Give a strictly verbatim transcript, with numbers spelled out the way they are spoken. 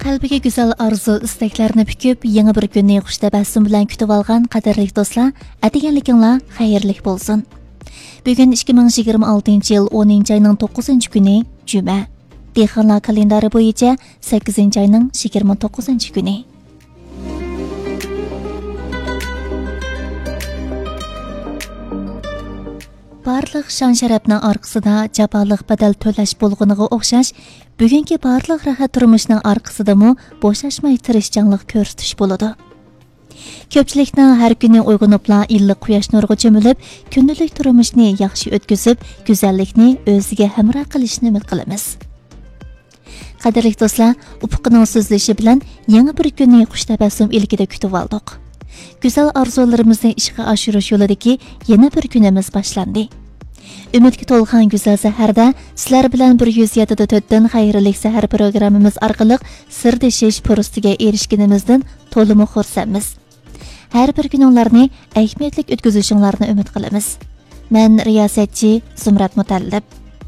قەلبىگە گۈزەل ئارزۇ، ئىستەكلەرنى پۈكۈپ، يېڭى بىر كۈننى خۇش تەبەسسۇم بىلەن كۈتۈۋالغان قەدىرلىك دوستلار، ئەتىگەنلىكىڭلار خەيرلىك بولسۇن. بۈگۈن ئىككى مىڭ يىگىرمە ئالتىنچى يىل ئونىنچى ئاينىڭ توققۇزىنچى كۈنى، جۈمە. دېھقانلار كالېندارى بويىچە سەككىزىنچى ئاينىڭ يىگىرمە توققۇزىنچى كۈنى. بارلىق شان-شەرەپنىڭ ئارقىسىدا جاپالىق بەدەل تۆلەش بولغىنىغا ئوخشاش، بۈگۈنكى بارلىق راھەت تۇرمۇشنىڭ ئارقىسىدىمۇ بوشاشماي تىرىشچانلىق كۆرسىتىش بولىدۇ. كۆپچىلىكنىڭ ھەر كۈنى ئويغىنىپلا ئىللىق قۇياش نۇرىغا چۆمۈلۈپ، كۈندىلىك تۇرمۇشنى ياخشى ئۆتكۈزۈپ، گۈزەللىكنى ئۆزىگە ھەمراھ قىلىشىنى ئۈمىد قىلىمىز. قەدىرلىك دوستلار، ئۇپۇقنىڭ سۆزلىشى بىلەن يېڭى بىر كۈننى خۇش تەبەسسۇم ئىلكىدە كۈتۈۋالدۇق. گۈزەل ئارزۇلىرىمىزنى ئىشقا ئاشۇرۇش يولىدىكى يەنە بىر كۈنىمىز باشلاندى. ئۈمىدكە تولغان گۈزەل سەھەردە سىلەر بىلەن بىر يۈز يەتتە دە تۆتتىن خەيرلىك سەھەر پروگراممىمىز ئارقىلىق سىردىشىش پۇرسىتىگە ئېرىشكىنىمىزدىن تولىمۇ خۇرسەنمىز. ھەر بىر كۈنۈڭلارنى ئەھمىيەتلىك ئۆتكۈزۈشۈڭلارنى ئۈمىد قىلىمىز. مەن رىياسەتچى زۇمرەت مۇتەللىپ.